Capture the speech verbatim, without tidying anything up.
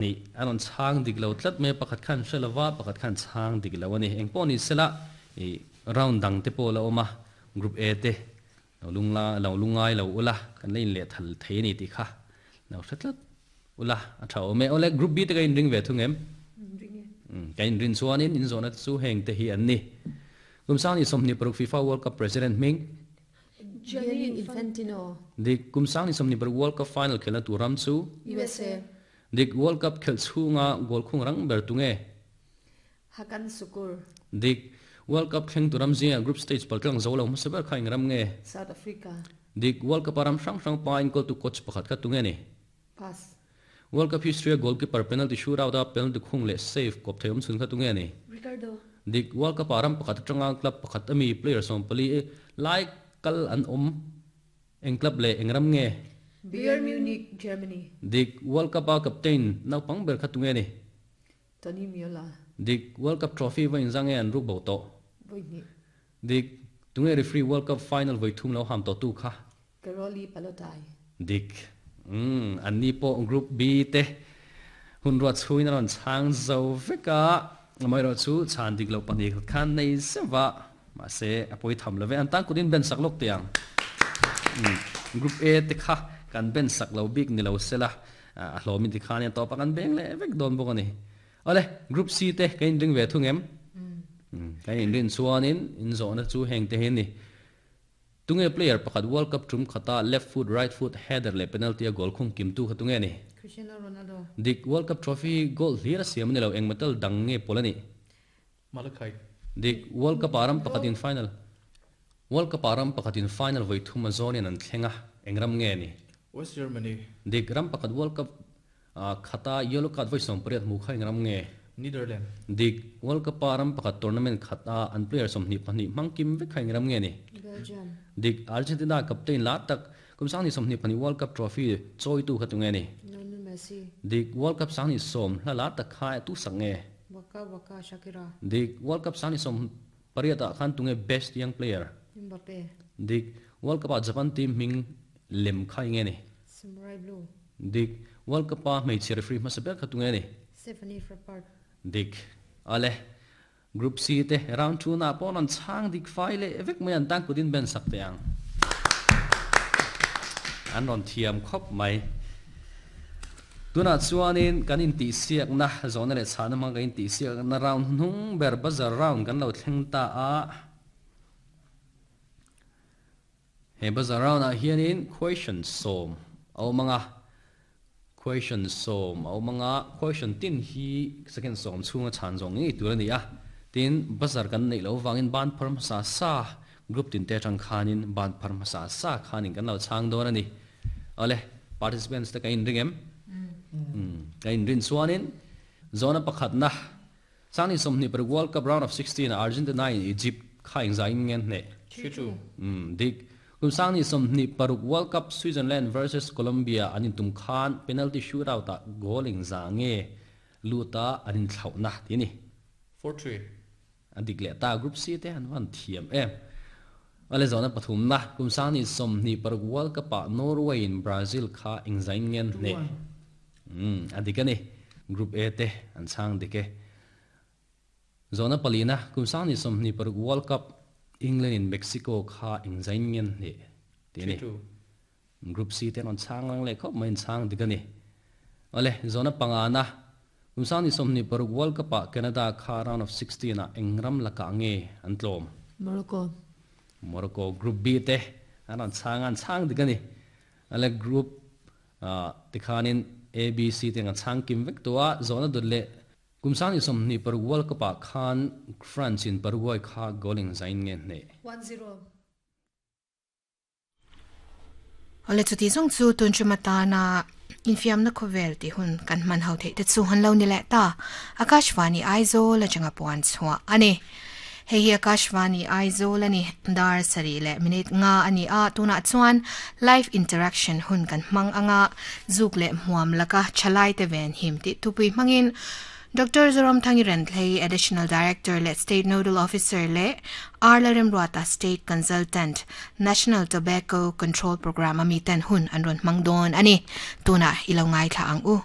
Ni anon chang dik lo tlat me pakhat khan hrelova pakhat khan chang dik lo ani engpawh ni sela i round dang te pawh la awm a group A te lo lungla lo lungai lo ula kan la in leh thal thei ani tih kha lo hre tlat ula a tha awm e awle group B te ka in ring ve thung em ka in rin chuanin in zawhna te chu heng te hi an ni kum sang ni sawmhnih paruk FIFA World Cup president hming Gianni Infantino dik kum sang ni sawmhnih paruk World Cup final khelna tur ram chu U S A dik World Cup khelh chhunga goal khung rang ber tunge Hakan Sukur dik World Cup thleng tur ram zinga group stage paltlang zo lo hmasa ber kha eng ram nge South Africa dik World Cup ram hrang hrang pa in goal tu coach pakhat kha tunge ni pass World Cup history goalkeeper penalty shootout a penalty khung leh save kop thei awm chhun kha tunge ni Ricardo dik World Cup ram pakhat atanga club pakhat ami player sawm pali lai kal an awm eng club leh eng ram nge Bayern Munich Germany dik World Cup a captain naupang ber kha tunge ni Tony Miola dik World Cup trophy va inzang nge an ruk bo to voi hnih dik tunge referee World Cup final voi thum lo ham to tu kha Karoli Palotai dik um an ni pawh group B te hun ruat chhuin an rawn chhang zo veka mai ro chu chan dik lo pahnih khan nei sewa ma se a poi tham love an tang kutin ben sak lok tiang group A te kha kan ben sak lo bik ni lo sela a hlomin ti khan to pa kan beng le vek don bawk ani ole group C te kain ring ve thung em kain in rin chuanin in zawhna chu heng te hin ni tunge player pakhat World Cup tum khata left foot right foot header le penalty a goal khung kim tu kha tunge ni Cristiano Ronaldo dik World Cup trophy goal hlir a siam ni lo eng metal dang nge polani Malachite dik World Cup aram pakhat in final World Cup aram pakhat in final voi thum a zawnin an thlenga engram nge ni West Germany dik ram pakhat World Cup khata yellow card voi som pariat mu kha engram nge Netherlands dik World Cup aram pakhat tournament khata an player sawmhnih pahnih hmang kim vek kha engram nge ni Belgium dik Argentina captain la tak kum sang ni sawmhnih pahnih World Cup trophy chawi tu kha tunge ni Lionel Messi dik World Cup sang ni sawm hla la tak kha tu sak nge Waka Waka Shakira dik World Cup sang ni sawm pariat ah khan tunge best young player Mbappe dik World Cup ah Japan team hming lem kha nge ni Samurai Blue dik World Cup a hmeichhe referee hmasa ber kha tunge ni Stephanie Frappart dik ale group C te round two na pawh an chhang dik fai le vek mai an tang kutin ben sak te ang an rawn thiam khawp mai tuna chuanin kan in tih siak na zawhna leh chhahna hmang kan in tih siak na round hnung ber bazar round kan lo thleng ta a he bazar round ah hianin question sawm a awm anga question sawm a awm anga question tin hi second sawm chhunga chhan zawng ngei tur ani a tin bazar kan nei lo wangin ban phar hmasa sa group tin te atang khanin ban phar hmasa sa khanin kan lo chhang dawn ani ale participants te ka in ring em ka in rin chuanin zona pakhat na sangni sawmhnih paruk World Cup round of sixteen Argentina in Egypt kha engzah in ngen hne three two um dik kum sangni sawmhnih paruk World Cup Switzerland versus Colombia an in tum khan penalty shootout ah goal engzah nge luta an in thlauhna ti ni four three an dik leh ta group C te an van thiam em ale zona pathum na kum sangni sawmhnih paruk World Cup ah Norway in Brazil kha engzah in ngen hne um adik ani group A te an chhang dike zona palina kum sangni sawmhnih paruk World Cup England in Mexico kha engzah in ngen hne ti ni three two group C te an chhang lang le khawp mai an chhang dik ani ale zona panga na kum sangni sawmhnih paruk World Cup ah Canada kha round of sixteen ah engram laka nge an tlawm Morocco Morocco group B te an an chhang an chhang dik ani ale group tikhanin A B C te an chhang kim vek tua zona dut le kum sangni sawmhnih paruk World Cup ah khan France in Paraguay kha goal zain nge hne one zero ole chuti zong chu tun chu matana infiam na khovel ti hun kan man hau thei te chu han lo ni le ta Akashvani Aizawl atanga puan chhuah ani hei hi Akashvani Aizawl ani dar sari le minute nga ani a tuna chuan live interaction hun kan hmang anga zuk le hmuam laka chalai te ven him ti tupui hmangin Doctor Zoramthangi Renthlei, Additional Director le State Nodal Officer le Arla Remruata State Consultant National Tobacco Control Program ami ten hun an ron hmang dawn ani tuna ilo ngai thla ang u.